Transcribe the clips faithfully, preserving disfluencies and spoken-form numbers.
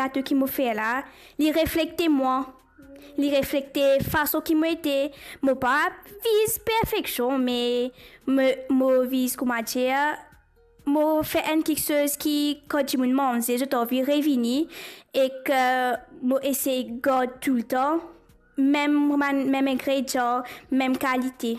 gato ki mo fer la, li reflekte mwa. Li reflekte fason ki mo ete. Mo pa viz perfeksion, me mo, mo viz, kouma dir, mo fer enn kiksoz ki kan dimoun manze, zot anvi revini, ek mo esey gard toultan mem, mem ingredian, mem kalite.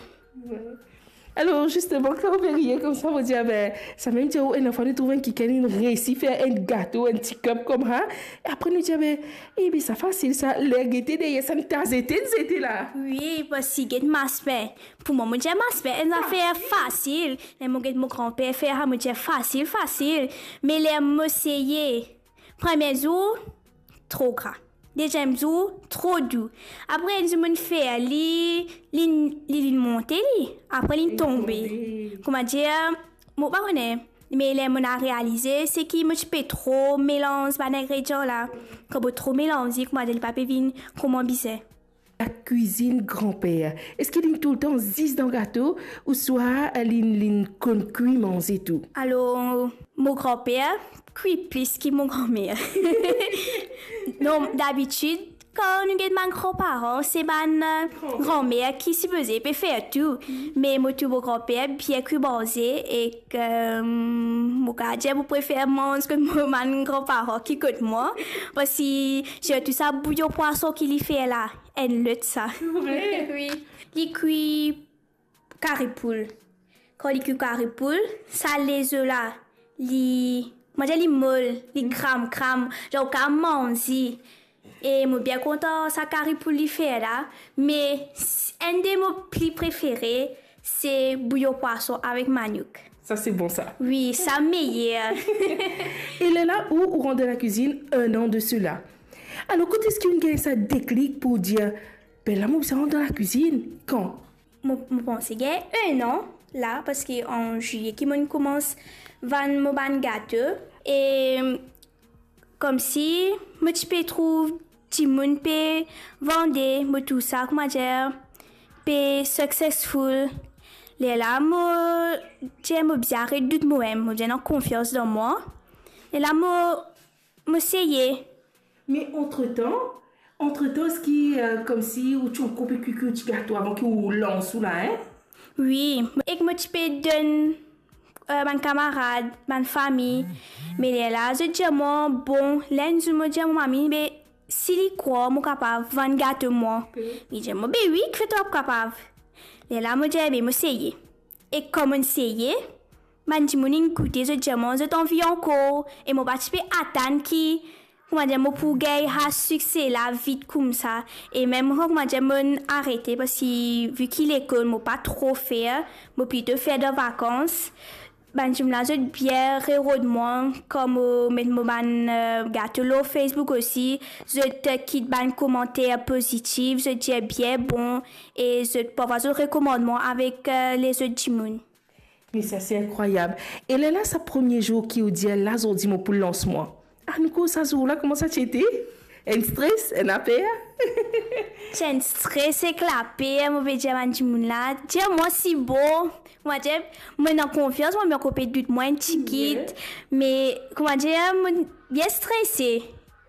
Alor, zisteman, kan ou pe riye koumsa, mo dir, be, samem dir ou, enn fwa nou trouv enn kikenn, li reysi fer enn gato, enn ti kip koumsa. E apre nou dir, be, e be, sa fasil sa, ler gete deryer sa, nou ta zete, nou zete la. Wi, parski get maspen. Pou mwa, mo dir maspen enn zafer fasil. Ler mo get mo granper fer sa, mo dir fasil, fasil. Me ler mo seye, premie zour, tro gra. Deziem zour, tro dou. Apre enn zour mo'nn fer li, li, li, li monte li, apre li tonbe. Kouma dir, mo pa kone, me ler mo'nn realize, se ki mo ti pe tro melanz bann ingredian la. Kan mo tro melanz li, kouma dir, li pa pe vinn kouma bizin. Lakwizinn granper, eski linn toultan zis dan gato, ouswa linn, linn konn kwi manze tou? Alor, mo granper kwi plis ki mo granmer. Non, dabitid, kan nou get bann granparan, se bann, eh, granmer ki sipoze pe fer tou. Me mo trouv mo granper bien kwi manze, ek, eh, mo kapav dir mo prefer manz kot mo bann granparan ki kot mwa. Parski sirtou sa bouyon pwason ki li fer la, enn lot sa. Vre? Wi. Li kwi kari poul. Kan li kwi kari poul, sa lezo la, li, mo dir li mol, li kram kram, zan ou kapav manz li. E mo bien kontan sa kari poul li fer la, me s-, enn de mo pli prefere, se bouyon pwason avek maniouk. Sa se bon sa. Wi, sa meyer. E lerla ou, ou rant dan lakwizinn enn an de sela. Alor, kot eski ou gagn sa deklik pou dir, be la, mo bizin rant dan lakwizinn? Kan? Mo, mo panse gagn enn an la, parski an zilie ki mo'nn koumans vann mo bann gato. E koumsi mo ti pe trouv dimoun pe vande, mo trouv sa, kouma dir, pe successful. Lerla mo dir mo bizin aret dout momem, mo bizin ena konfians dan mwa. Lerla mo, mo seye. Me antretan, antretan, eski, eh, koumsi ou ti ankor pe kwi, kwi ou ti gato avan ki ou lans ou la, en? Wi, ek mo ti pe donn, eh, bann kamarad, bann fami. Me lerla zot dir mwa, bon, ler enn zour mo dir mo mami, be, si li krwar mo kapav vann gato mwa. Li dir mwa, be wi, kifer to pa kapav? Lerla mo dir, be, mo seye. E kan mo'nn seye, bann dimoun inn goute, zot dir mwa zot anvi ankor, e mo pa ti pe atann ki, kouma dir, mo pou gagn sa sikse la vit koumsa. E mem kan, kouma dir, mo'nn arete, parski vi ki lekol mo pa tro fer, mo plito fer dan vakans. Bann dimoun la, zot bien rerod mwa, kan mo met mo bann, eh, gato lor Facebook osi, zot, eh, kit bann komanter pozitif, zot dir bien bon, e zot parfwa zot rekomand mwa avek, eh, lezot dimoun. Me sa se inkrwayab. E lerla sa premie zour ki ou dir, la zordi mo pou lans mwa. Ah, nou koz sa zour la, kouma sa ti ete? Enn stres, enn laper? Ti enn stres ek laper, mo pe dir bann dimoun la, dir mwa si bon. Mo dir, mo ena konfians, mo, me ankor pe dout mwa enn tigit. Wi. Me, kouma dir, mo bien strese.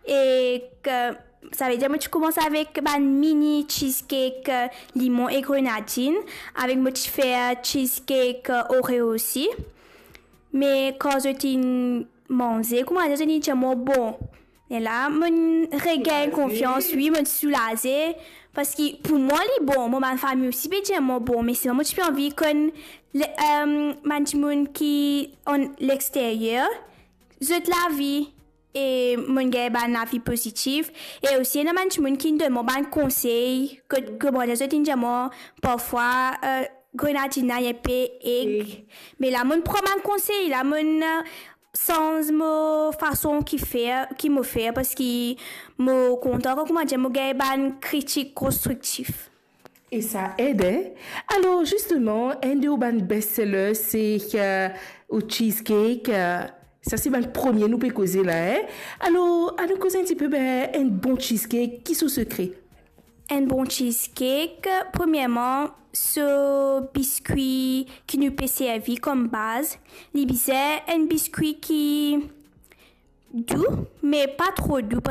Ek, eh, savedir mo ti koumans avek bann mini cheesecake, eh, limon e grenadinn, avek mo ti fer cheesecake, eh, Oreo osi. Me kan zot inn manze, kouma dir, zot inn dir mwa bon. Lerla mo'nn regagn konfians, wi, mo'nn soulaze, parski pou mwa li bon, mo bann fami osi pe dir mwa bon, me selman mo ti pe anvi konn le, eh, bann dimoun ki an lexteryer, zot lavi, e mo'nn gagn bann lavi pozitif. E osi ena bann dimoun ki'nn donn mwa bann konsey, kot, kouma dir, zot inn dir mwa parfwa, eh, grenadinn la inn pe eg. Eg. Me la mo'nn pran bann konsey la, mo'nn, eh, sanz mo fason ki fer, ki mo fer, parski mo kontan kan, kouma dir, mo gagn bann kritik konstriktif. E sa ed, en? Alor, zisteman, enn de ou bann best seller, se, eh, ou cheesecake, eh, sa se bann premie nou pe koze la, en? Alor, anou koz enn tipe, be, enn bon cheesecake, ki so sekre? Enn bon cheesecake, premierman, so biskwi ki nou pe servi kom baz, li bizin enn biskwi ki dou, me pa tro dou,